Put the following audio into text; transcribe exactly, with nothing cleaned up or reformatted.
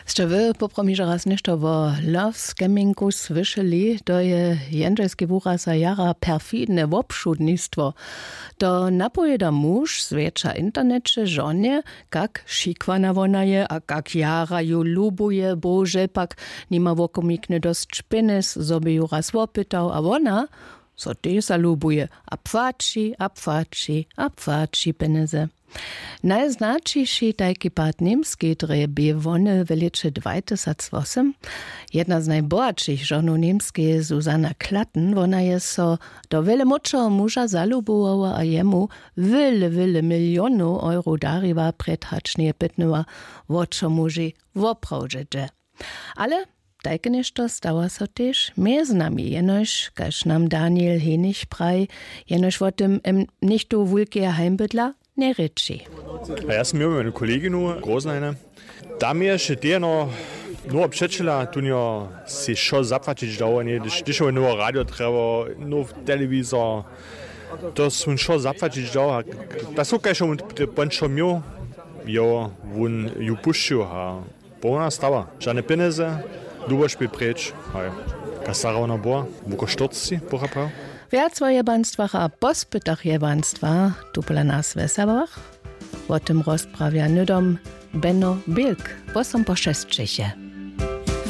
Sće wy poprawom hižo raz něšto wo love scammingku słyšeli? To je jendźelski wuraz a jara perfidne wobšudnistwo. To napowěda muž zwjetša w interneće žonje, kak šikwana wona je a kak jara ju lubuje, bože pak nima wokomiknje dosć pjenjez, zo by ju raz wopytał, a wona so tež zalubuje a płaći a płaći a płaći pjenjezy. Najznaćiši tajki pad w němskej drje bě wone w lěće dwajtysacwosym. Jedna z najbohatšich žonow němskeje, susanna klatten, wona je so do wjele młódšeho muža zalubowała a jemu wjele wjele milionow euro dariła, prjed hač njeje pytnyła, wo čo muži woprawdźe dźe. Ale tajke něšto stawa so tež mjez nami, jenož kaž nam daniel henich praji, jenož wo tym em něchtó wulkeje heimbydla njerěči. A ja sam měł jednu koleginu groznajne. Tam je še tejeno nowo přećela tunjo, sej wšo zapłaćić dał, a nje hdyž hdyž nowo radio trjebał, nowy telewizor, to su wšo zapłaćić dał. Ta sukaž mu pon wšo měł, jo, wón ju pušćił a połna stawa, žane pjenjezy, duboš bě preč. Haj. Kaž starawna była wuko štyrcci pochaprajo. Wjac wo jebanstwach a pospytach jebanstwa tu pola nas w wesałach. Wo tym rozprawja hnydom beno bilk. Wosom po šesćeće.